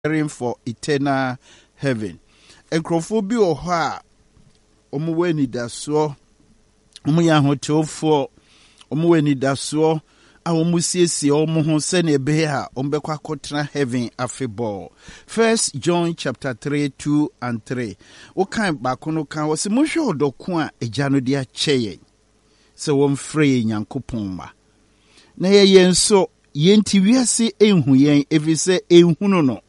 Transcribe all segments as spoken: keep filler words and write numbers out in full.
Preparing for eternal heaven. Nkurɔfoɔ bi wɔ hɔ a wɔwɔ anidasoɔ, wɔyɛ ahotefoɔ, wɔwɔ anidasoɔ a wɔsiesie wɔn ho sɛnea ɛbɛyɛ a wɔbɛkɔ akɔtena heaven afebɔɔ. First John chapter three, two and three. Wokan baako no kan wɔ sɛ monhwɛ ɔdɔ ko a agya no de akyɛ yɛn sɛ wɔmfrɛ yɛn Nyankopɔn mma. Na yɛyɛ nso yɛnti wiase enhu yɛn ɛfiri sɛ enhunu no.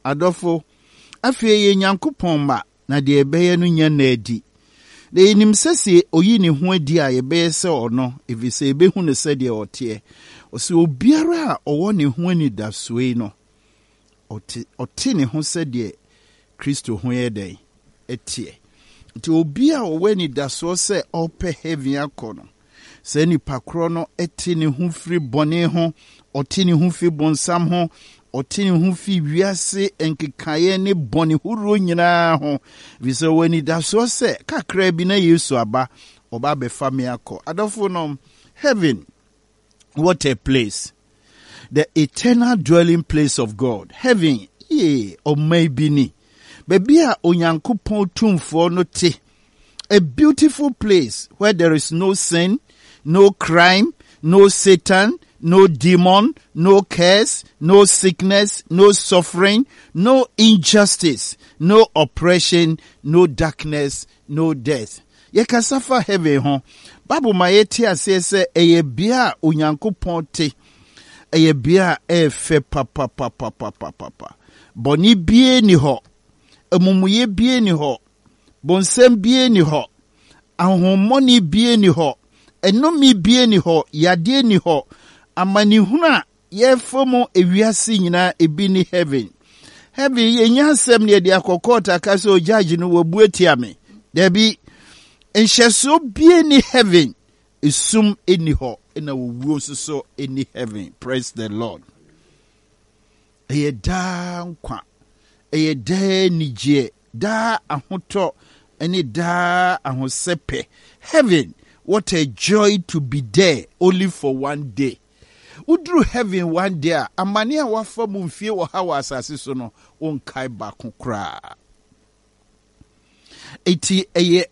Adɔfo, afei yɛ Nyankopɔn mma na deɛ ɛbɛyɛ no nya na adi. Na yɛnim sɛ sɛ oyi ne ho adi a yɛbɛyɛ sɛ ɔno ɛfiri sɛ yɛbɛhu no sɛdeɛ ɔteɛ. Ɔsɛ obiara a ɔwɔ ne ho anidasoɔ yi no, ɔte, ɔte ne ho sɛdeɛ Kristo ho yɛ dɛn ɛteɛ. Nti obi a ɔwɔ anidasoɔ sɛ ɔpɛ heaven akɔ no, saa nipa korɔ no te ne ho firi bɔne ho, ɔte ne ho firi bonsam ho, ɔte ne ho firi wiase nkekaeɛ ne bɔne horoɔ nyinaa ho. Ɛfiri sɛ ɔwɔ anidasoɔ sɛ kakra bi na Yesu aba, ɔba abɛfa me akɔ. Adɔfo no, heaven, what a place. The eternal dwelling place of God. Heaven, yee, ɔman bi ni. Baabi a Onyankopɔn tumfoɔ no te. A beautiful place where there is no sin, no crime, no Satan, no demon, no curse, no sickness, no suffering, no injustice, no oppression, no darkness, no death. Yɛkasa fa heaven ho. Bible ma yɛte aseɛ sɛ ɛyɛ bea a Onyankopɔn te. Ɛyɛ bea a ɛyɛ fɛ papapapapapapa. Bɔne bie ni hɔ. Amumuyɛ bie ni hɔ. Bonsam bie ni hɔ. Ahohommɔne bie ni hɔ. Ɛnome bie ni hɔ. Yadeɛ ni hɔ. Amanehunu a yɛfa mu ewiase nyinaa ebi ni heaven. Heaven yɛnya asɛm ne yɛde akɔ court aka sɛ o judge no wabu atia me. Dabi, nhyɛsoɔ bie ni heaven. Esum ni hɔ ɛna owuo nso so ni heaven. Praise the Lord. Ɛyɛ daa nkwa. Ɛyɛ daa anigyeɛ, daa ahotɔ ne daa ahosɛpɛ. Heaven, what a joy to be there only for one day. Woduru heaven one day a, amane a wafa mu mfie wɔ ha wɔ asase so no, wonkae baako koraa. Eti ɛyɛ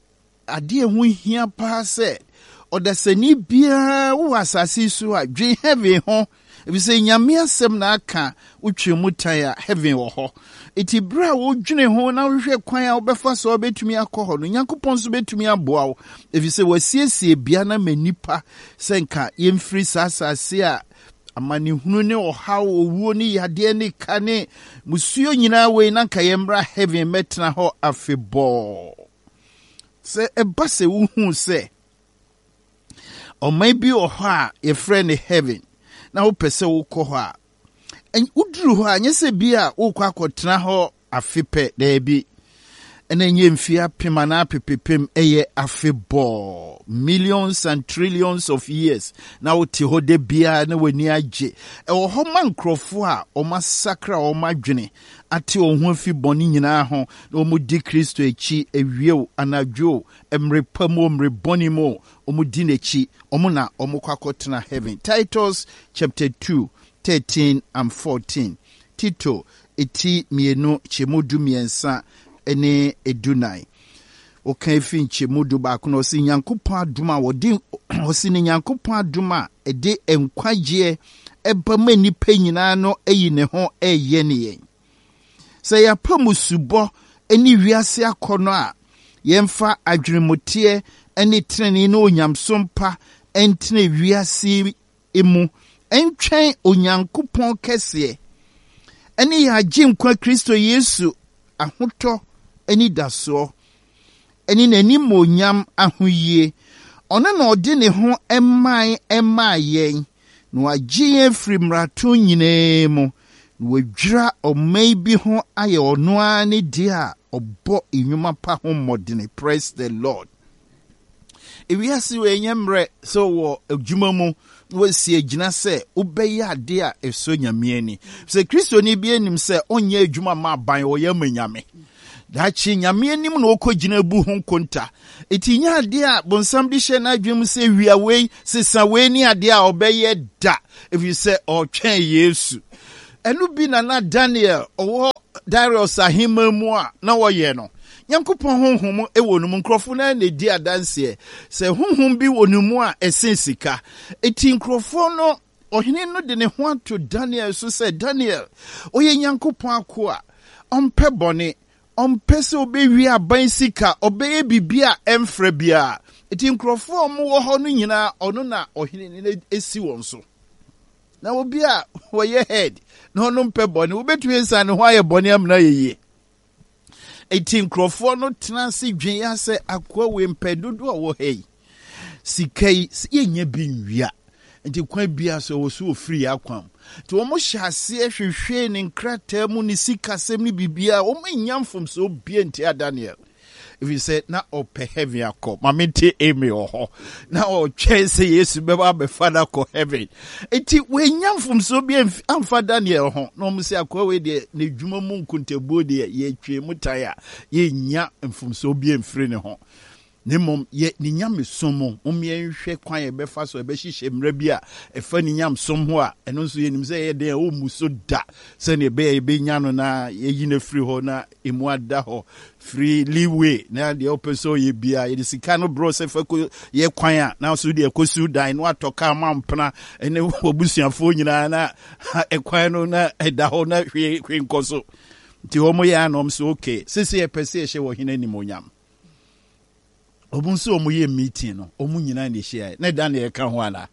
adeɛ ho hia paa sɛ ɔdasani biara wowɔ asase so a dwen heaven ho efisɛ Nyame asɛm na aka wotwe mu tan a heaven wɔ hɔ. Eti bere a wodwene ho na wohwehwɛ kwan a wobɛfa so a wobɛtumi akɔ hɔ no, Nyankopɔn nso bɛtumi aboa wo efisɛ wasiesie bea no ama nnipa sɛ nka yɛmfiri saa asase a amanehunu ne ɔhaw, owuo ne yadeɛ ne ka ne musuo nyinaa wei na nka yɛmmra heaven mɛtena hɔ afebɔɔ. Sɛ ɛba sɛ wohuu sɛ ɔman bi wɔ hɔ a yɛfrɛ no heaven na wopɛ sɛ wokɔ hɔ a, woduru hɔ a nyɛ sɛ bi a wokɔ akɔtena hɔ afe pɛ daabi ɛna nyɛ mfie apem anaa apepepem ɛyɛ afebɔɔ millions and trillions of years na wote hɔ da biara na w'ani agye ɛwɔ hɔ ma nkurɔfoɔ a wɔn asakra wɔn adwene ate wɔn ho afi bɔne nyinaa ho na wɔn di Kristo akyi awie o anadwo o mmere pa mu o mmere bɔne mu o wɔn di n'akyi wɔn na wɔn kɔ akɔtena heaven Titus chapter two thirteen and fourteen Tito eti mmienu kyɛmu du mmiɛnsa ne edunan wɔka efi nkyɛmu du baako na ɔsi Nyankopɔn adum a wɔde ɔsi ne Nyankopɔn adum a ɛde nkwagyeɛ ɛba ma nnipa nyinaa no ayi ne ho ɛyɛ ne yɛn sɛ yɛapa mu subɔ ne wiase akɔnɔ a yɛmfa adwenemuteɛ ne tenenee ne onyamsom pa ntena wiase mu ntwɛn Onyankopɔn kɛseɛ ɛne yɛn agye nkwa Kristo Yesu ahotɔ anidasoɔ ɛne n'animonyam ahoyie ɔno na ɔde ne ho ɛman ɛmaa yɛn na wagye yɛn afiri mmarato nyinaa mu na wadwira ɔman bi ho ayɛ ɔno ara ne deɛ a ɔbɔ nnwuma pa ho mmɔdene praise the Lord ewiase wɔ ɛnyɛ mmerɛ sɛ wɔ adwuma mu na wasi agyina sɛ wobɛyɛ adeɛ a ɛsɔ Nyame ani sɛ kristoni bi anim sɛ ɔnyɛ adwuma ma aban ɔyɛ ama Nyame daakye Nyame anim na ɔkɔ gyina bu ho nkonta eti nyɛ adeɛ a bonsam de hyɛ n'adwene mu sɛ wia wei sesa wei ne adeɛ a ɔbɛyɛ da ɛfiri sɛ ɔretwɛn Yesu Ɛno bi na na Daniel ɔwɔ Darius ahemman mu a na wɔyɛ no. Nyankopɔn honhom wɔ no mu. Nkurɔfo no ara na ɛdi adanseɛ sɛ honhom bi wɔ ne mu a ɛsen sika. Enti nkurɔfoɔ no, ɔhene no de ne ho ato Daniel so sɛ, Daniel, ɔyɛ Nyankopɔn akoa, ɔmpɛ bɔne, ɔmpɛ sɛ ɔbɛwie aban sika, ɔbɛyɛ biribi a ɛmfra biara. Enti nkurɔfoɔ a wɔwɔ hɔ no nyinaa, ɔno na ɔhene no asi wɔn so. Na obi a wɔyɛ head na ɔno mpɛ bɔne, wobɛtumi asiane ne ho ayɛ bɔne amena ayɛ yie. Enti nkurɔfoɔ no tena ase dwen ya sɛ akoa wei mpɛ dodoɔ a wɔ ha yi, sika yi, yɛnyɛ bi nwia. Nti kwan biara so ɛwɔ so wɔfiri yɛ akwan mu. Nti wɔn hyɛ aseɛ hwehwee ne nkrataa mu, ne sikasɛm ne biribiara, wɔn annya mfomsoɔ biara ntia Daniel. Ɛfiri sɛ na ɔpɛ heaven akɔ. Ma mente amen wɔ hɔ. Na ɔtwɛn sɛ Yesu bɛba abɛfa no akɔ heaven. Nti wɔanya mfomsoɔ bi amfa Daniel ho. Na wɔn sɛ akoa wei deɛ n'adwuma mu nkontabuo deɛ yɛtwe mu tan a yɛnnya mfomsoɔ bi amfiri ne ho. Na mmom yɛ ne nyamesom mu. Mom yɛnhwɛ kwan a yɛbɛfa so ɛbɛhyehyɛ mmara bi a ɛfa ne nyamesom ho a ɛno nso yɛnim sɛ ɛyɛ den a ɔmmu so da, sɛnea ɛbɛyɛ yɛbɛnya no na yɛyi no afiri hɔ na emu ada hɔ free leeway na deɛ ɔpɛ sɛ ɔyɛ biara yɛde sika no borɔ sɛ fa kɔ yɛ kwan a na so deɛ kɔsiw dan na watɔ kaa ma mpena ne wabusuafoɔ nyinaa na ɛkwan no na ɛda hɔ na hwee hwee nkɔ so. Nti wɔn yɛ anom so okay, sese yɛpɛ sɛ yɛhyɛ wɔ hene animonyam. Wɔn nso wɔn yɛ meeting no, wɔn nyinaa na ɛhyia na Daniel ka ho ana?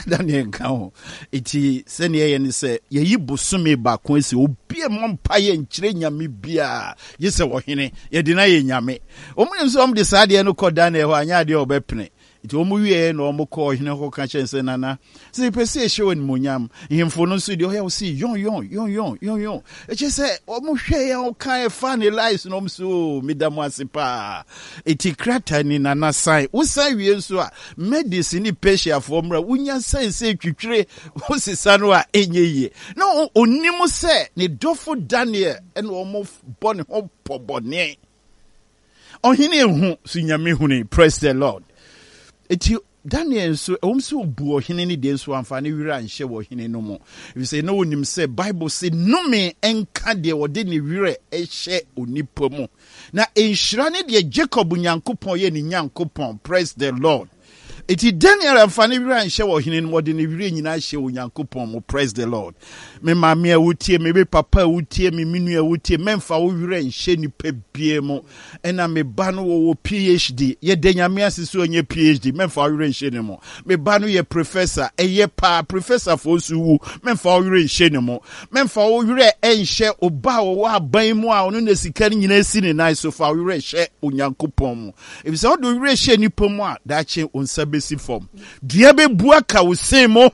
Daniel nka ho. Eti sɛnea ɛyɛ ne sɛ yɛyi bosome baako asi obi a mmɔ mpa yɛ nkyerɛ nyame biara gye sɛ ɔhene yɛde no ayɛ nyame. Wɔn nim sɛ wɔn de saa adeɛ no kɔ Daniel hɔ anyɛ adeɛ a ɔbɛpene. Nti wɔn wieɛ na wɔn kɔ ɔhene hɔ ka kyerɛ sɛ nana sɛ yɛpɛ sɛ yɛhyɛ wɔ animonyam. Nhemfo no nso deɛ ɔyɛ wɔ sɛ yɔn yɔn yɔn yɔn yɔn yɔn. Ɛkyɛ sɛ wɔn hwɛ yɛn wɔn ka ɛfa ne lies na wɔn so meda mo ase paa. Eti krataa ni nana san. Wosan wie nso a Medes ne Persiafoɔ mmra wonya san sɛ twitwire wosesa no a ɛnyɛ yie. Na onim sɛ ne dɔfo Daniel ɛna wɔn bɔ ne ho pɔbɔne. Ɔhene ehu so nyame huni. Praise the Lord. Eti Daniel nso ɛwom sɛ obu ɔhene ne deɛ nso amfa ne werɛ anhyɛ wɔ ɔhene no mu. Efisɛ na onim sɛ Bible se nnome nka deɛ ɔde ne werɛ hyɛ onipa mu. Na nhyira ne deɛ Jacob Nyankopɔn yɛ ne Nyankopɔn. Praise the Lord. Eti Daniel amfa ne werɛ anhyɛ wɔ ɔhene no mu, ɔde ne werɛ nyinaa hyɛ Onyankopɔn mu. Praise the Lord. Me maame a wotie me, me papa a wotie me, me nua a wotie, mɛmfa wo werɛ nhyɛ nipa bie mu. Ɛna me ba no wɔwɔ P H D. Yɛda Nyame ase sɛ ɔnyɛ P H D. Mɛmfa wo werɛ nhyɛ ne mu. Me ba no yɛ professor. Ɛyɛ paa, professorfoɔ nso wu. Mɛmfa wo werɛ nhyɛ ne mu. Mɛmfa wo werɛ nhyɛ ɔba a ɔwɔ aban mu a ɔno na sika no nyinaa si ne nan so. Fa wo werɛ hyɛ Onyankopɔn mu. Efisɛ wode wo werɛ hyɛ nipa mu a, daakye wo nsa bɛsi fam. Dua bɛbu aka wo sen mu.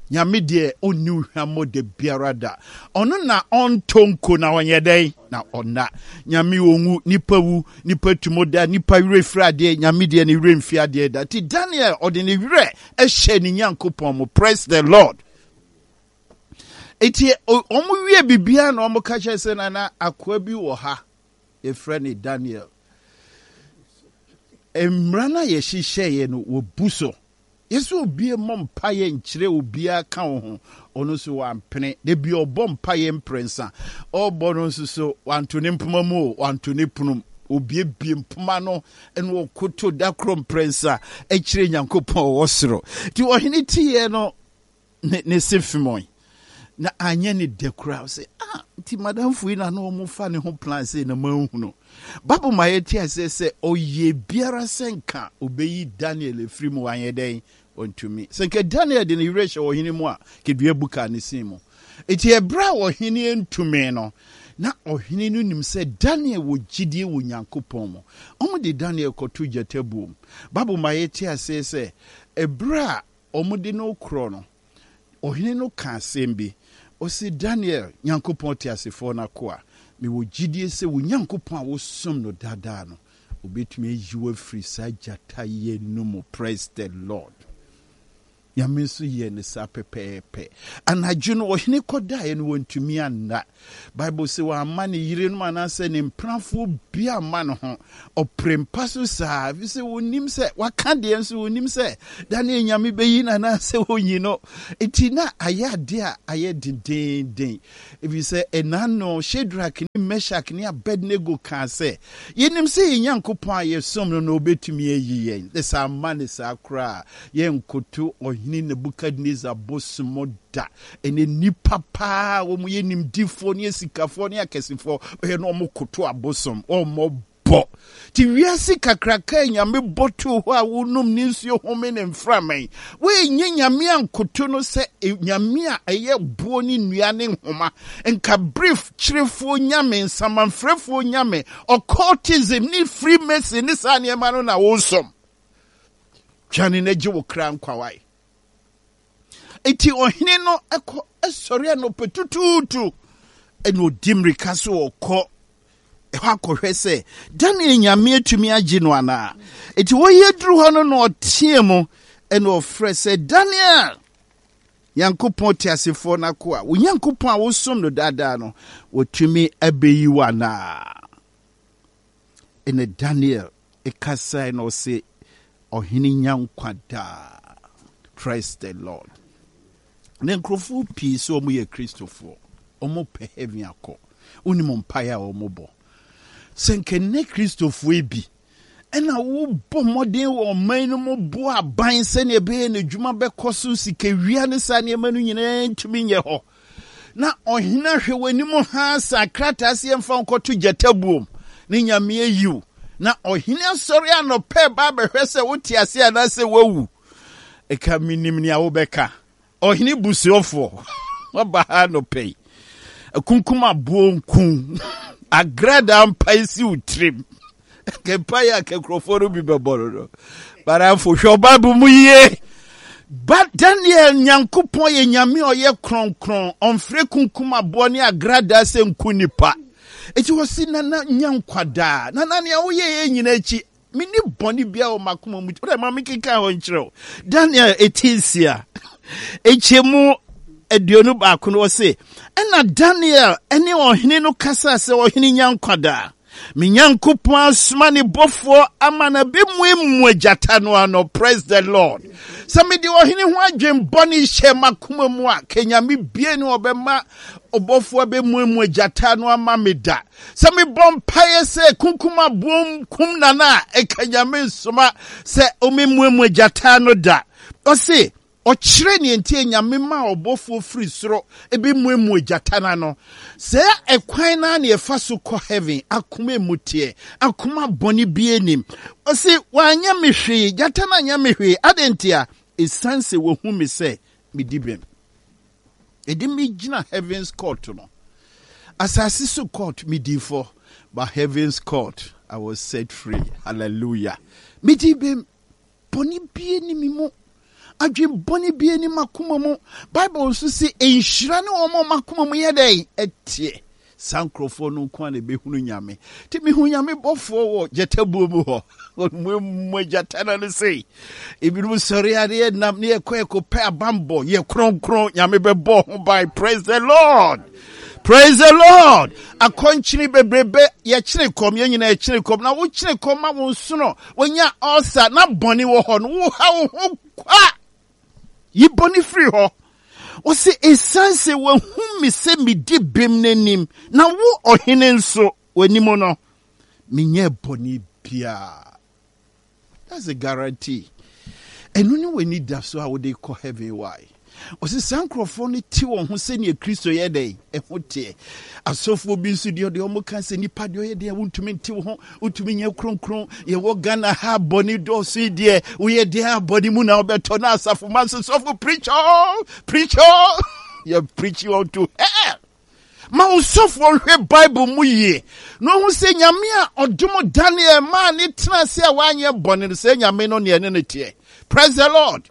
Nyame deɛ ɔnni wo hwammɔ da biara da. Ɔno na ɔntɔ nko na ɔnyɛ dɛn na ɔnna. Nyame ɔnwu, nipa wu, nipa tumo da, nipa werɛ firi adeɛ, Nyame deɛ ne werɛ mfi adeɛ da. Nti Daniel ɔde ne werɛ hyɛ ne Nyankopɔn mu. Praise the Lord. Eti wɔn wie biribiara na wɔn ka kyerɛ sɛ nana akoa bi wɔ ha yɛfrɛ no Daniel. Mmara no a yɛhyehyɛeɛ no wɔbu so. Yɛsɛ obi mmɔ mpaeɛ nkyerɛ obiara ka wo ho. Ɔno nso wampene. Da bi ɔbɔ mpaeɛ mprɛnsa. Ɔrebɔ no nso so wanto ne mpoma mu o, wanto ne pono mu. Obiebie mpoma no ɛna ɔkoto da koro mprɛnsa kyerɛ Nyankopɔn ɔwɔ soro. Nti ɔhene tiiɛ no ne ne se femɔe na anyɛ ne dɛ koraa sɛ ah nti madamfo yi na na wɔn fa ne ho plan sɛ na manhunu. Bible ma yɛte aseɛ sɛ ɔyɛ biara sɛ nka ɔbɛyi Daniel afiri mu wanyɛ dɛn ɔntumi. Sɛ nka Daniel de ne werɛ hyɛ ɔhene mu a kedua bu kaa ne sin mu. Enti ɛberɛ a ɔhene ntumi no, na ɔhene no nim sɛ Daniel wɔ gyidie wɔ Nyankopɔn mu. Wɔn de Daniel kɔto gyata buom. Bible ma yɛte aseɛ sɛ ɛberɛ a wɔn de no korɔ no, ɔhene no ka asɛm bi. Ɔse, Daniel, Nyankopɔn teasefoɔ no akoa, mewɔ gyidie sɛ wo Nyankopɔn a wosom no daadaa no, obɛtumi ayi wo afiri saa gyata yi no mu. Praise the Lord. Nyame nso yɛɛ no saa pɛpɛɛpɛ. Anadwo no, ɔhene kɔdaeɛ no, wantumi anna. Bible se wamma ne yerenom anaasɛ ne mpenafoɔ bi amma ne ho. Ɔpere mpa so saa, ɛfiri sɛ wɔnim sɛ waka deɛ nso wɔnim sɛ Daniel Nyame bɛyi no anaasɛ ɔnyi no. Enti na ayɛ adeɛ a ayɛ dendeenden, ɛfiri sɛ ɛna no Shadrach ne Meshach ne Abednego kaa sɛ, yɛnim sɛ yɛn Nyankopɔn a yɛsom no no ɔbɛtumi ayi yɛn. Na sɛ amma no saa koraa a, yɛnkoto ɔhene Nebukadnesar bosom da. Ɛnɛ nnipa paa wɔn yɛ nimdifoɔ ne asikafoɔ ne akɛsefoɔ bɛyɛ na wɔn koto abosom, wɔn bɔ. Ti wiase kakraka a Nyame bɔ too hɔ a wonom ne nsuo home ne mframa yi, woenye Nyame ankoto no sɛ Nyame a ɛyɛ boɔ ne nnua ne nhoma, nka brief kyerefoɔ nyame, nsamanfrɛfoɔ nyame, occultism ne Freemason ne saa nneɛma no na wosom. Dwane na gye wo kra nkwa wae. Enti ɔhene no kɔ sɔre anɔpa tutuutu ɛna ɔdi mmirika so ɔkɔ ɛhɔ akɔhwɛ sɛ Daniel Nyame atumi agye no anaa. Enti wɔyɛ duru hɔ no na ɔteɛ mu ɛna ɔfrɛ sɛ, Daniel, Nyankopɔn teasefoɔ no akoa, wo Nyankopɔn a wosom no daadaa no, wɔtumi abɛyi wo anaa? Ɛna Daniel ɛkasae na ɔse, ɔhene nya nkwa daa. Praise the Lord. Na nkurɔfoɔ pii sɛ wɔn yɛ Kristofoɔ, wɔn pɛ heaven akɔ. Wonim mpaeɛ a wɔn bɔ. Sɛ nka nnɛ Kristofoɔ yi bi ɛna wobɔ mmɔden wɔ ɔman no mu boa aban sɛnea ɛbɛyɛ n'adwuma bɛkɔ so, sikawia ne saa nneɛma no nyinaa ntumi nyɛ hɔ. Na ɔhene ahwɛ w'anim ha sa krataa sɛ yɛmfa nkɔto gyata buom ne Nyame ayiw. Na ɔhene asɔre anɔpɛ ba abɛhwɛ sɛ wote ase anaasɛ woawu. Ɛka menim nea wobɛka. Ɔhene busuofoɔ waba ha anɔpɛ yi. Akunkum aboɔ nku. Agrada mpae si wo tirim. Kɛmpae a kɛnkurɔfoɔ no bi bɛbɔ no no. Baramfo hwɛ Bible mu yie. Ba Daniel Nyankopɔn yɛ Nyame a ɔyɛ kronkron. Ɔmfrɛ kunkum aboɔ ne agrada sɛ nku nipa. Eti wɔsi nana nya nkwadaa. Nana nea woyɛ yɛ nyina akyi, menni bɔne biara wɔ m'akoma mu. Wode ma mekenkan hɔ nkyerɛ wo. Daniel eti nsia, nkyɛmu aduonu baako no ɔse, ɛna Daniel ne ɔhene no kasaa sɛ, ɔhene nya nkwadaa. Me Nyankopɔn asoma ne bɔfoɔ ama no abɛmuamua gyata no ano. Praise the Lord. Sɛ mede ɔhene ho adwen bɔne hyɛ m'akoma mu a, ka Nyame bie ne ɔbɛma ɔbɔfoɔ abɛmuamua gyata no ama me da. Sɛ mebɔ mpaeɛ sɛ kunkum aboɔ kum nana a, ɛka Nyame nsoma sɛ ɔmɛmuamua gyata no da. Ɔse, ɔkyerɛ nea nti a Nyame maa ɔbɔfoɔ firi soro ɛbɛmuamua gyata no ano. Sɛ ɛkwan no a na yɛfa so kɔ heaven, akoma emu teɛ, akoma bɔne bi anim. Ɔse, wanyɛ me hwee, gyata no anyɛ me hwee. Adɛn nti a? Ɛsiane sɛ wahu me sɛ medi bem. Ɛde me gyina heaven's court no. Asase so court medi fɔ, but heaven's court I was set free. Hallelujah. Medi bem. Bɔne bie ni me mu. Adwen bɔne bie ni m'akoma mu. Bible nso se nhyira ne wɔn a wɔn akoma mu yɛ dɛn? Ɛteɛ. Saa nkurɔfoɔ no nko a na ɛbɛhunu Nyame. Nti mehu Nyame bɔfoɔ wɔ gyatabuo mu hɔ. Ɔmuamua gyata no no sei. Ebinom sɔre a ne yɛnam ne yɛkɔ yɛkɔpɛ abanbɔ. Yɛ kronkron. Nyame bɛbɔ ho ban. Praise the Lord. Praise the Lord. Akɔnkyene bebrebe yɛkyene kɔm, yɛn nyinaa yɛkyene kɔm. Na wokyene kɔm ma wo nsono, wonya ulcer na bɔne wɔ hɔ no, woha wo ho kwa. Yi bɔne firi hɔ. Ɔse, ɛsiane sɛ wahu me sɛ medi bem n'anim, na wo ɔhene nso w'anim no, menyɛ bɔne biara. That's a guarantee. Ɛno ne w'ani da so a wode kɔ heaven. Why? Ɔse saa nkurɔfoɔ no te wɔn ho sɛnea Kristo yɛ dɛn ɛho teɛ. Asɔfoɔ bi nso deɛ ɔdeɛ ɔmo ka sɛ nipa deɛ ɔyɛ deɛ wontumi nte wo ho, wontumi nyɛ kronkron. Yɛwɔ Ghana ha bɔne dɔɔso yi deɛ woyɛ deɛ a bɔne mu na wobɛtɔ. Na asafo ma nso sɔfo preach all, preach all. Yɛ preach unto hell. Ma wo sɔfoɔ nhwɛ Bible mu yie na ɔhu sɛ Nyame a ɔdom Daniel maa ne tena ase a wanyɛ bɔne no, sɛ Nyame no neɛ ne no teɛ. Praise the Lord.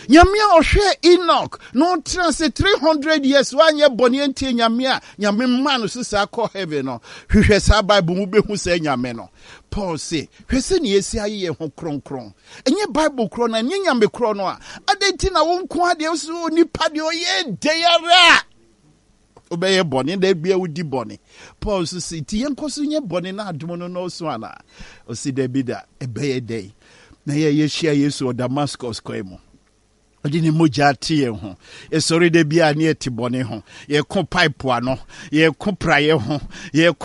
Nyame a ɔhwɛ Enoch na ɔtena ase three hundred years, wanyɛ bɔne antie Nyame a Nyame ma no so saa kɔ heaven no, hwehwɛ saa Bible mu, bɛhu sɛ Nyame no. Paul se, hwɛ sɛ ne yɛsi ayɛ yɛn ho kronkron. Ɛnyɛ Bible korɔ no, ɛnyɛ Nyame korɔ no a, adɛn nti na wo nko adeɛ so nipa deɛ ɔyɛ dɛn ara a wobɛyɛ bɔne da bia wodi bɔne? Paul nso se, nti yɛnkɔ so nyɛ bɔne na adom no nɔɔso anaa? Ɔsi dabi da. Ɛbɛyɛ dɛn na yɛ yɛhyia Yesu wɔ Damascus kwan mu, ɔde ne mogya ate yɛn ho? Yɛsɔre da bi a ne yɛte bɔne ho, yɛko pipe ano, yɛko praeɛ ho, yɛko